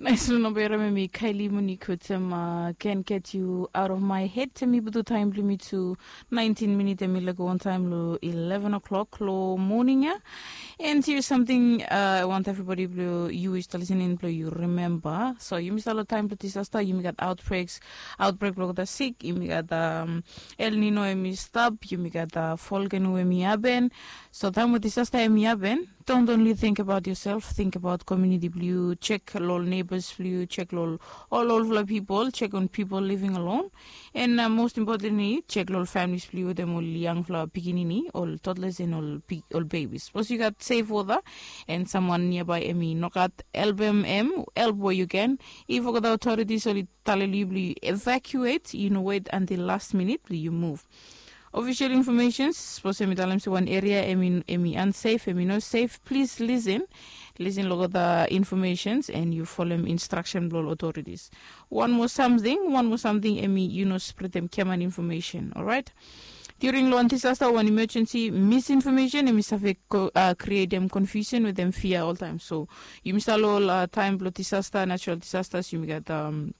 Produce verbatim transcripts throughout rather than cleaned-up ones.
Nais long namba yara memi kaili moni kotem, ken get yu aut of mai hed. Temi butu taim blong mi tu naintin minit em i laik wantaim long eleven o'clock long moning ya. And here something I want everybody blong yu is listening blong yu remember, so yumi start long taim blong disasta yumi gat outbreaks, outbreak blong olgeta sik, yumi gat um, el nino em i stap, yumi gat uh, folgenu em i happen. So taim blong disasta em i happen, don't only think about yourself, think about community blong yu, check long neighbors blong yu, check long ol olfala people, check on people living alone. And uh, most importantly, check long families blong yu, them ol youngfala pikinini, ol toddlers and ol, ol babies. Suppose you got safe water and someone nearby em i nogat, help em, em help where you can. If olgeta authorities ol i taleli blong evacuate, you know, wait until last minute blong you move. Official informations, suppose em i talem se wan area em i, em i unsafe, em i no safe, please listen. Listen long olgeta informations and you follow instruction blong authorities. One more something, one more something em i, you know, spread them keman information, alright? During long disasta, one emergency misinformation em i save uh, create them confusion with them fear all time. So yumi start long uh, time blong disasta, natural disasters, yumi gat um,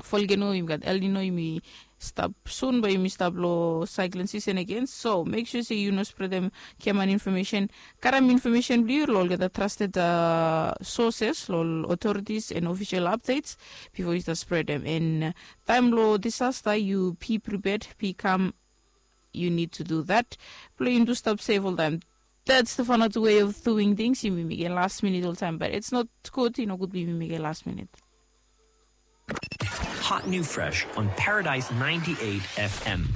folgeno, yumi gat el nino, yumi stap sun, but yumi stap long cyclone season again. So make sure say you no spread them keman information. Karam information blong yu long olgeta trusted uh, sources, long authorities and official updates before you start spread them. And uh, time long disasta, you be prepared, be calm. You need to do that. Blong yumi tu stap safe all time. That's the fun out way of doing things. Yumi mekem last minute all time, but it's not good. You know, good blong yumi mekem last minute. Hot new fresh on Paradise ninety-eight F M.